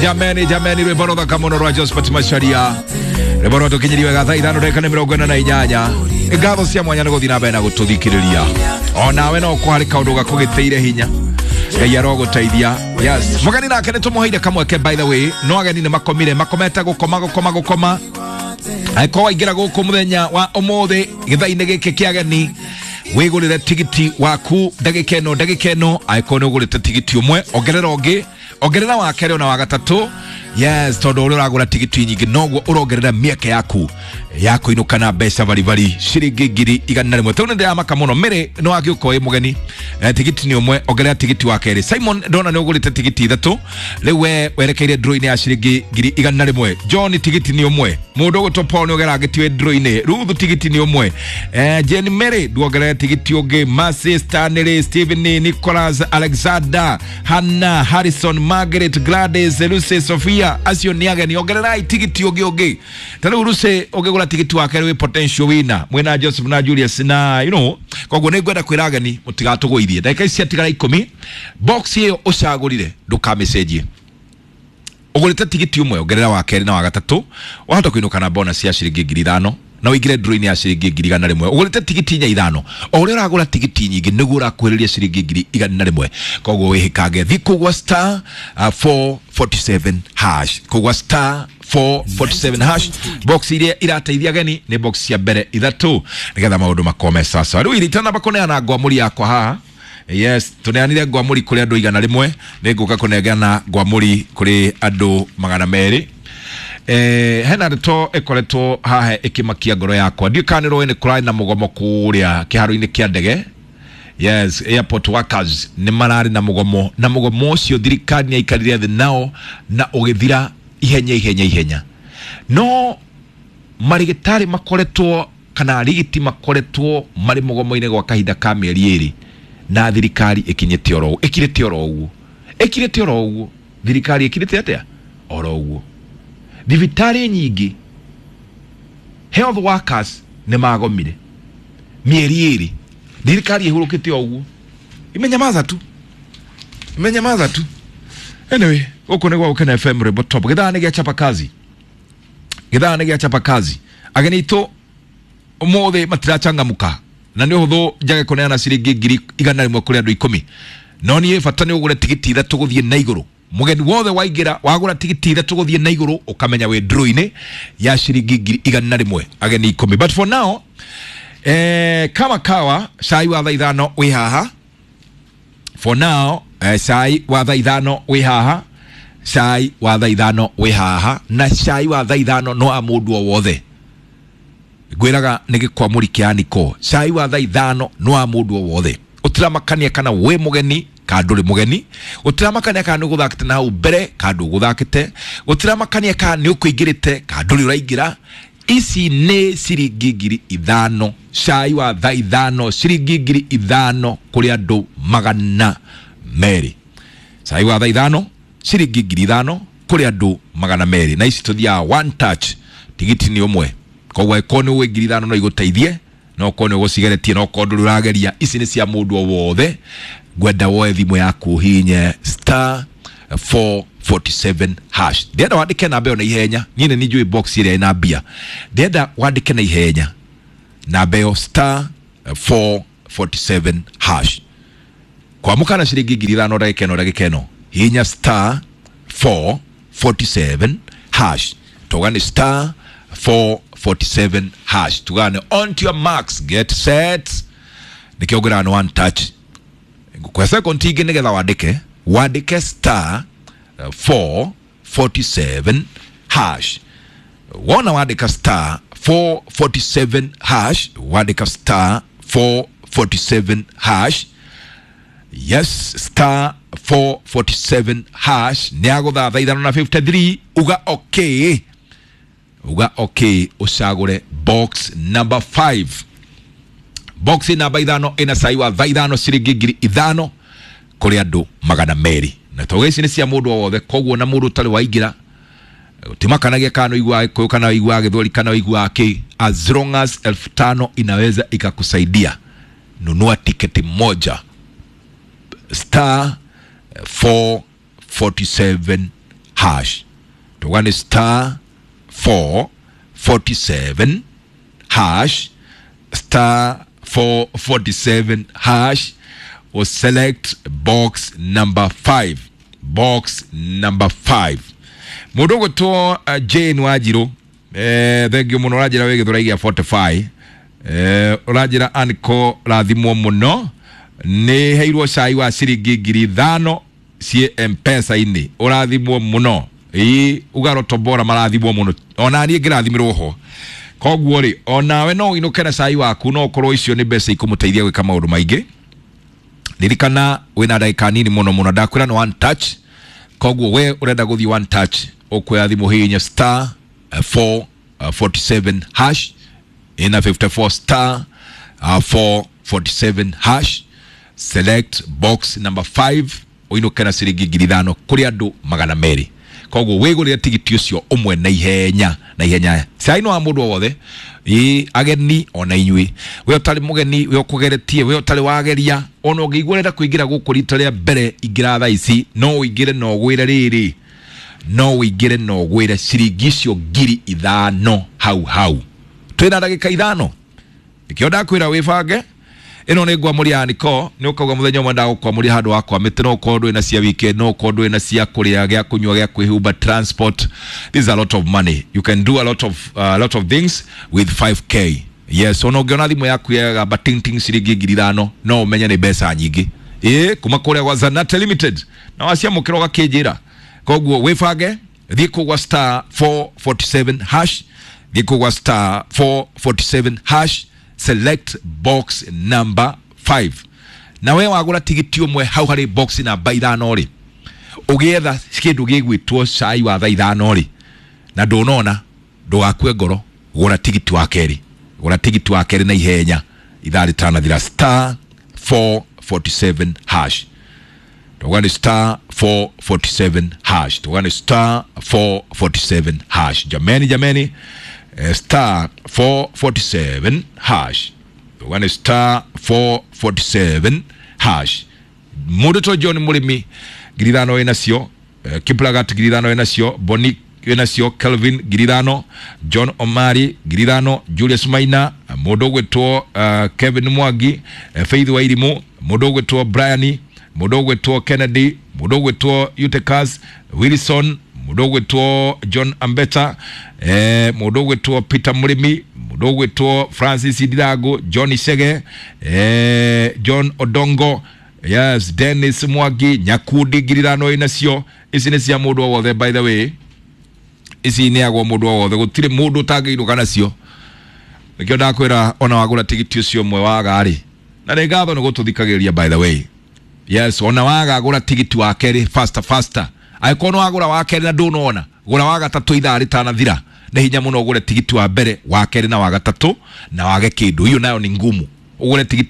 Jameni, jameni, rwimbo rũthaka mũno rwa Josephat Macharia, rwimbo rwatũkinyĩria wega thaa 5 ndagĩka nĩ 48. Ngatho cia mwanya nĩ gũthiĩ na mbere na gũtũthikĩrĩria. Onawe no ũkorwo harĩ kaũndũ gakũgĩtĩire hinya, Ngai arogũteithia. Yes, mũgeni nake nĩ tũmũheire kamweke, by the way, no ageni nĩ makomire, makomete gũkoma gũkoma gũkoma. Angĩkorwo waingĩra gũkũ mũthenya wa ũmũthĩ gĩthaa-inĩ gĩkĩ kĩa ageni, wĩgũrĩre tigiti waku ndagĩka ĩno, ndagĩka ĩno. Angĩkorwo nĩ ũgũrĩte tigiti ũmwe, ongerera ũngĩ, ongerera wa kerĩ ona wa gatatũ. Yes, tondũ ũrĩa ũragũra tigiti nyingĩ noguo ũrongerera mĩeke yaku ya kũinũka na mbeca baribari ciringi 100,000. Tondũ nĩ ndĩramaka mũno mĩrĩ nĩ wagĩũka wĩ mũgeni, tigiti nĩ ũmwe, ongerera tigiti wa kerĩ. Simon, ndona nĩ ũgũrĩte tigiti 3, rĩu we werekeire draw-inĩ ya ciringi 100,000. John, tigiti nĩ ũmwe. Mũndũ ũgwĩtwo Paul nĩ ũgerangĩtio draw-inĩ. Ruth, tigiti nĩ ũmwe. Jane Mary, nduongerere tigiti ũngĩ. Mercy, Stanley, Stephen, Nicholas, Alexander, Hannah, Harrison, Margaret, Gladys, Lucy, Sophia, acio nĩ ageni, ongererai tigiti ũngĩ ũngĩ. Ta rĩu Lucy, ũngĩgũra tigiti wa kerĩ wĩ potential winner mwĩna Joseph na Julius na you know. Koguo nĩ ngwenda kwĩra ageni mũtigatũgũithie. Ndagĩka ici ciatigara 10, box ĩyo ũcagũrire ndũkamĩcenjie. Ũgũrĩte tigiti ũmwe, ongerera wa kerĩ na wa gatatũ, wahota kũinũka na bonus ya ciringi 5,000 na ũingĩre draw-inĩ ya ciringi 100,000. Ũgũrĩte tigiti 4 5, o ũrĩa ũragũra tigiti nyingĩ nĩguo ũrakuhĩrĩria ciringi 100,000. Koguo wĩhĩkange, thiĩ kũgwa star 447 hash, kũgwa star 447 hash. Box iria irateithia ageni nĩ box cia mbere 3, nĩgetha maũndũ makome sasa. Rĩu itanamba kũneana ngwamũri yakwa haha. Yes, tuneanire ngwamũri kũrĩ andũ 100, nĩ ngũka kũnengana ngwamũri kũrĩ andũ 200. Hena ndeto ĩkoretwo haha ĩkĩmakia ngoro yakwa. Ndiũĩ kana nĩ rũĩ nĩ kũrarĩ na mũgomo kũrĩa kĩharo-inĩ kĩa ndege. Yes, airport workers nĩ mararĩ na mũgomo, na mũgomo ũcio thirikari nĩ yaikarire thĩ nao na ũgĩthira ihenya ihenya ihenya. No marĩgĩtarĩ makoretwo kana arigiti makoretwo marĩ mũgomo-inĩ gwa kahinda ka mĩeri 2, na thirikari ĩkinyĩte oro ĩkirĩte oro ũguo, ĩkirĩte oro ũguo. Thirikari ĩkirĩte atĩa? Oro ũguo. Thibitarĩ nyingĩ health workers nĩ magomire mĩeri 2, thirikari ĩhurũkĩte o ũguo, imenyamaza tu, imenyamaza tu. Anyway, gũkũ nĩ gwa Gũkena FM, Rwĩmbo Top. Gĩthaa nĩ gĩa chapa kazi, gĩthaa nĩ gĩa chapa kazi. Ageni aitũ ũmũthĩ matirachangamka, na nĩ ũhũthũ njage kũneana ciringi 100,000 kũrĩ andũ 10, no niĩ bata nĩ ũgũre tigiti 3 gũthiĩ na igũrũ. Mũgeni wothe waingĩra wagũra tigiti 3 gũthiĩ na igũrũ, ũkamenya wĩ draw-inĩ ya ciringi 100,000, ageni 10. But for now, kama kawa, cai wa thaa 5 wĩ haha. For now, cai wa thaa 5 wĩ haha, cai wa thaa 5 wĩ haha, na cai wa thaa 5 no wa mũndũ o wothe. Ngwĩraga nĩ gĩkwamũri kĩa Niko. Cai wa thaa 5 no wa mũndũ o wothe, ũtiramakania kana wĩ mũgeni kana ndũrĩ mũgeni, ũtiramakania kana nĩ ũgũthakĩte na hau mbere kana ndũgũthakĩte, ũtiramakania kana nĩ ũkũingĩrĩte kana ndũrĩ ũraingĩra. Ici nĩ ciringi 5,000, cai wa thaa 5, ciringi 5,000 kũrĩ andũ 200. Cai wa thaa 5, ciringi 5,000 kũrĩ andũ 200. Na ici tũthiaga one touch, tigiti nĩ ũmwe. Koguo angĩkorwo nĩ ũĩ 5,000 no igũteithie, no korwo nĩ ũgũcigeretie, no korwo ndũrĩ ũrageria, ici nĩ cia mũndũ o wothe. Ngwenda woe thimũ yaku ũhihinye star 447 hash. Ndĩrenda wandĩke namba ĩyo na ihenya, niĩ nĩ njũĩ box ĩrĩa ĩna mbia. Ndĩrenda wandĩke na ihenya namba ĩyo star 447 hash. Kwamũka na ciringi 5,000 ndagĩka ĩno, ndagĩka ĩno hihinya star 447 hash. Tuga nĩ star 447 hash, tuga nĩ on to your marks, get set. Nĩkĩo ngwĩraga nĩ one touch. Kwa second ingĩ nĩgetha wandĩke, wandĩke star 447 hash. Wona wandĩka star 447 hash, wandĩka star 447 hash. Yes, star 447 hash. Nĩ agũtha thaa 5 na 53, uga okay, uga okay, ũcagũre box number 5. Box namba 5 ĩna cai wa thaa 5, ciringi 5,000 kũrĩ andũ 200. Na tauga ici nĩ cia mũndũ o wothe, koguo na mũndũ ũtarĩ waingĩra timakanagia kana ũiguaga Gĩkũyũ kana ũiguaga Gĩthweri kana ũiguaga kĩ, as long as 5,000 inaweza ikakusaidia, nunua tiketi moja, star 447 hash. Tuga nĩ star 447 hash, star 447 hash, or select box number 5, box number 5. Mũndũ ũgwĩtwo Jane Wanjirũ, thengio mũno, ũranjĩra wĩ Gĩthũrai gĩa 45, ũranjĩra anko rathimwo mũno, nĩ heirwo cai wa ciringi 5,000 ciĩ M-Pesa-inĩ, ũrathimwo mũno. Ĩĩ, uga Rotombora marathimwo mũno, ona niĩ ngĩrathimĩrwo ho. Koguo rĩ, onawe no ũinũke na cai waku, no ũkorwo icio nĩ mbeca ikũmũteithia gwĩka maũndũ maingĩ. Ririkana wĩna ndagĩka nini mũno mũno, ndakwĩra nĩ one touch. Koguo we ũrenda gũthiĩ one touch, ũkuoya thimũ hihinya star 447 hash, ina 54 star 447 hash, select box number 5, ũinũke na ciringi 5,000 kũrĩ andũ 200. Koguo wĩgũrĩre tigiti ũcio ũmwe na ihenya na ihenya. Cai no wa mũndũ o wothe, ĩ ageni ona inyuĩ, we ũtarĩ mũgeni, we ũkũgeretie, we ũtarĩ wageria, ona ũngĩigua ũrenda kũingĩra gũkũ rita rĩa mbere, ingĩra thaa ici, no ũingĩre na ũgwĩre rĩrĩ, no ũingĩre na ũgwĩre ciringi icio 5,000 hau hau. Twĩna ndagĩka 5, nĩkĩo ndakwĩra wĩbange. Ĩno nĩ ngwamũria ya Niko, nĩ ũkauga mũthenya ũmwe ndagũkwamũria handũ wa kwamĩte, no ũkorwo ndũrĩ na cia weekend, no ũkorwo ndũrĩ na cia kũrĩa, gĩa kũnyua, gĩa kwĩhumba, transport. This is a lot of money. You can do a lot of things with 5K. Yes, ona ũngĩona thimũ yaku yagamba ting ting ciringi 5,000, no ũmenye nĩ mbeca nyingĩ. Ĩĩ, kuma kũrĩa gwa Zanate Limited, na waciamũkĩra ũgakĩnjĩra. Koguo wĩbange, thiĩ kũu gwa star 447 hash, thiĩ kũu gwa star 447 hash, select box number 5. Na we wagũra tigiti ũmwe hau harĩ box namba 5 rĩ, ũgĩetha kĩndũ gĩgwĩtwo cai wa thaa 5 rĩ, na ndũnona, ndũgakue ngoro, gũra tigiti wa kerĩ, gũra tigiti wa kerĩ na ihenya ithaa rĩtanathira, star 447 hash. Tuga nĩ star 447 hash, tuga nĩ star 447 hash. Jameni, jameni, star 447 hash, tuga nĩ star 447 hash. Mũndũ to John Mũrĩmi 5,000 wĩnacio, Kiplagat 5,000 wĩnacio, Boni wĩnacio, Kelvin 5,000, John Omari 5,000, Julius Maina, mũndũ ũgwĩtwo Kevin Mwangi, Faith Wairimu, mũndũ ũgwĩtwo Brian, mũndũ ũgwĩtwo Kennedy, mũndũ ũgwĩtwo Utekas Wilson, mũndũ ũgwĩtwo John Ambeta, mũndũ ũgwĩtwo Peter Mũrĩmi, mũndũ ũgwĩtwo Francis Ndirango, John Chege, John Odongo, yes, Dennis Mwangi, Nyakundi 5,000 wĩnacio. Ici nĩ cia mũndũ o wothe, by the way, ici nĩ agwo mũndũ o wothe, gũtirĩ mũndũ ũtangĩinũka nacio. Nĩkĩo ndakwĩra ona wagũra tigiti ũcio ũmwe waga rĩ, na nĩ ngatho nĩ gũtũthikagĩrĩria, by the way. Yes, ona waga gũra tigiti wa kerĩ faster faster. Angĩkorwo nĩ wagũra wa kerĩ na ndũnona, gũra wa gatatũ ithaa rĩtanathira. Nĩ hinya mũno ũgũre tigiti wa mbere, wa kerĩ na wa gatatũ na wage kĩndũ. Hiyo nayo ni ngumu. Ũgũre tigiti wa